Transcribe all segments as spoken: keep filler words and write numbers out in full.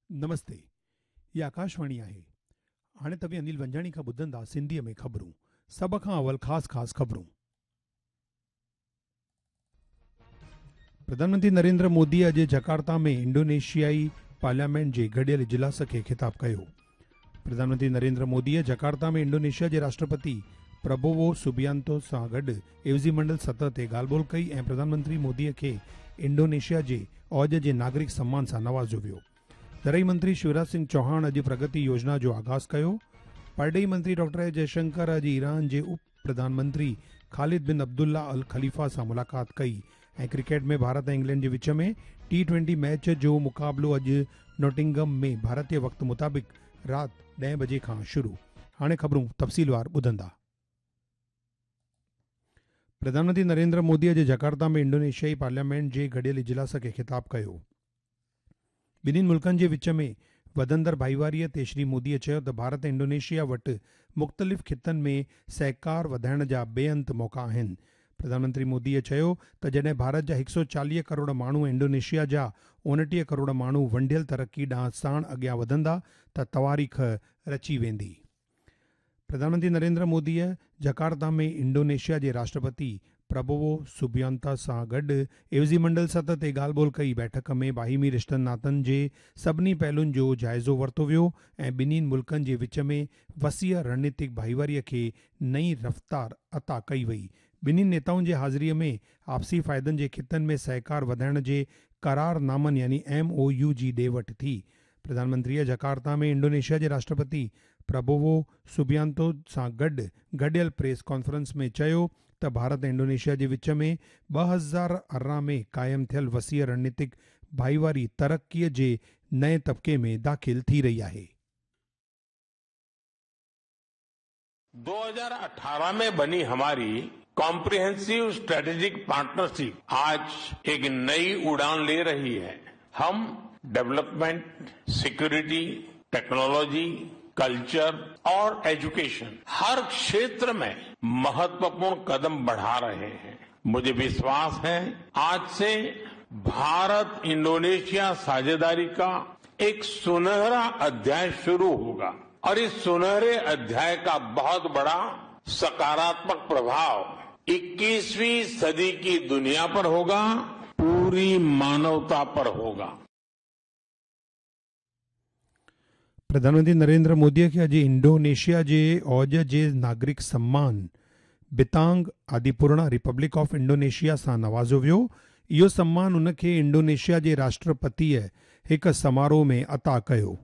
نمستي، هي آڪاشواڻي آهي. هاڻي توهين انيل ونجاڻي کان ٻڌندا سنڌيء ۾ خبرون. سڀ کان اول خاص خاص خبرون. پرڌان منتري نريندر مودي اڄ جڪارتا ۾ انڊونيشيائي پارليامينٽ جي گڏيل اجلاس کي خطاب ڪيو. پرڌان منتري نريندر موديء جڪارتا ۾ انڊونيشيا جي راشٽرپتي پرابوو سوبيانتو سان گڏ عيوضي منڊل سطح تي ڳالهه ٻولهه ڪئي ۽ پرڌان منتري موديء کي انڊونيشيا جي اوج جي ناگرڪ سمان سان نوازيو ويو. زرعي منتري شيوراج سنگهه چوهاڻ اڄ پرگتي يوجنا جو آغاز ڪيو. پرڏيهي منتري ڊاڪٽر ايس جئشنڪر اڄ ايران جي اپ پرڌان منتري خالد بن عبدالله الخليفه سان ملاقات ڪئي ۽ ڪرڪيٽ ۾ ڀارت ۽ انگلينڊ جي وچ ۾ ٽي ٽوئنٽي ميچ جو مقابلو اڄ نوٽنگهم ۾ ڀارتي وقت مطابق رات ڏهين بجي کان شروع. هاڻي خبرون تفصيلوار ٻڌندا. پرڌان منتري نريندر مودي اڄ جڪارتا ۾ انڊونيشيائي پارليامينٽ جي گڏيل اجلاس کي خطاب ڪيو. ٻنهين ملڪن جي وچ ۾ وڌندڙ ڀائيواريء تي شري موديء چيو ته ڀارت ۽ انڊونيشيا وٽ مختلف خطن ۾ سهڪار وڌائڻ جا بي انت موقعا آهن. پرڌان منتري موديء چيو ته جڏهن ڀارت جا هڪ سؤ چاليهه ڪروڙ ماڻهو ۽ انڊونيشيا جا اڻٽيهه ڪروڙ ماڻهو ونڊيل ترقي ڏانهن ساڻ اڳيان وڌندا ته تواريخ رچي ويندي. پرڌان منتري نريندر موديء جڪارتا ۾ انڊونيشيا جي راشٽرپتي پرابوو سوبيانتا سان گڏ عيوضي منڊل سطح تي ڳالهه ٻولهه ڪئي. بيٺڪ ۾ باهمي رشتن ناتن جي سڀني پهلن جو جائزو ورتو ويو ۽ ٻنهين ملڪن جي وچ ۾ وسيع رڻنيتڪ ڀائيواريء کي نئين رفتار عطا ڪئي وئي. ٻنهين نيتائن جي حاضريء ۾ آپسي فائدن جي خطن ۾ سهڪار وڌائڻ جي قرارنامن يعني ايم او يو جي ڏي وٺ ٿي. پرڌان منتريء جڪارتا ۾ انڊونيشيا جي راشٽرپتي پرابوو سوبيانتو سان گڏ گڏيل پريس ڪانفرنس ۾ چيو ته ڀارت ۽ انڊونيشيا جي وچ ۾ ٻه هزار ارڙهن ۾ قائم ٿيل وسيع رڻنيتڪ ڀائيواري ترقيء جي نئين طبقي ۾ داخل ٿي رهي آهي. दो हज़ार अठारह में बनी हमारी कॉम्प्रिहेंसिव स्ट्रेटेजिक पार्टनरशिप आज एक नई उड़ान ले रही है। हम डेवलपमेंट, सिक्योरिटी, टेक्नोलॉजी, कल्चर और एजुकेशन हर क्षेत्र में महत्वपूर्ण कदम बढ़ा रहे हैं। मुझे विश्वास है आज से भारत इंडोनेशिया साझेदारी का एक सुनहरा अध्याय शुरू होगा और इस सुनहरे अध्याय का बहुत बड़ा सकारात्मक प्रभाव इक्कीसवीं सदी की दुनिया पर होगा, पूरी मानवता पर होगा। प्रधानमंत्री नरेंद्र मोदीअ खे अॼु इंडोनेशिया जे औज जे नागरिक सम्मान बितांग आदिपूर्णा रिपब्लिक ऑफ इंडोनेशिया सां नवाज़ियो वियो। इहो सम्मान उनखे इंडोनेशिया जे राष्ट्रपतीअ हिकु समारोह में अता कयो।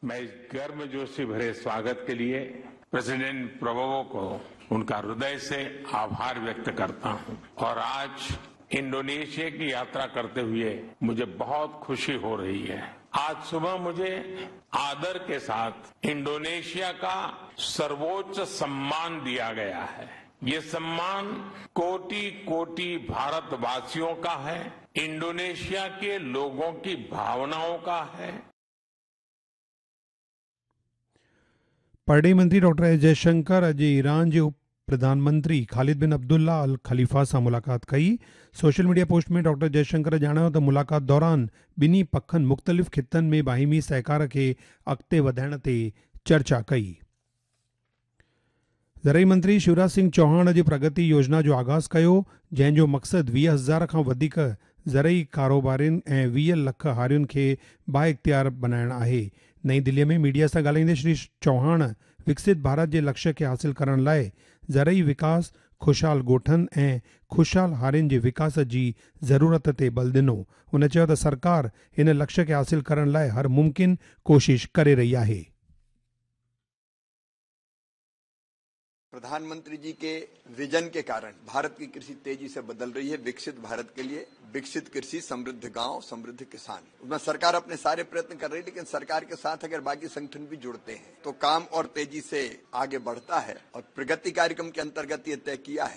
मैं इस गर्मजोशी भरे स्वागत के लिए प्रेसिडेंट प्रबोवो को उनका हृदय से आभार व्यक्त करता हूं और आज इंडोनेशिया की यात्रा करते हुए मुझे बहुत खुशी हो रही है। आज सुबह मुझे आदर के साथ इंडोनेशिया का सर्वोच्च सम्मान दिया गया है। ये सम्मान कोटि कोटि भारतवासियों का है, इंडोनेशिया के लोगों की भावनाओं का है। परॾेही मंत्री डॉक्टर एस जयशंकर अॼु ईरान जे उप प्रधानमंत्री खालिद बिन अब्दुल्ला अल ख़लीफ़ा सां मुलाक़ात कई। सोशल मीडिया पोस्ट में डॉक्टर जयशंकर ॼाणायो त मुलाक़ात दौरान ॿिन्ही पखनि मुख़्तलिफ़ ख़ितनि में बाहिमी सहकार खे अॻिते वधाइण ते चर्चा कई। ज़रई मंत्री शिवराज सिंह चौहान अॼु प्रगति योजना जो आग़ाज़ कयो, जंहिंजो मक़सदु वीह हज़ार खां वधीक ज़रई कारोबारियुनि ऐं वीह लख हारियुनि खे बाइख़्तियार बणाइणु आहे। नई दिल्लीअ में मीडिया सां ॻाल्हाईंदे श्री चौहान विकसित भारत जे लक्ष्य खे हासिल करण लाइ ज़रई विकास, ख़ुशहाल ॻोठनि ऐं ख़ुशहाल हारियुनि जे विकास जी ज़रूरत ते बल ॾिनो। हुन चयो त सरकार हिन लक्ष्य खे हासिल करण लाइ हर मुमकिन कोशिश करे रही आहे। प्रधानमंत्री जी के विजन के कारण भारत की कृषि तेजी से बदल रही है। विकसित भारत के लिए विकसित कृषि, समृद्ध गांव, समृद्ध किसान, उसमें सरकार अपने सारे प्रयत्न कर रही है, लेकिन सरकार के साथ अगर बाकी संगठन भी जुड़ते हैं तो काम और तेजी से आगे बढ़ता है। और प्रगति कार्यक्रम के अंतर्गत ये तय किया है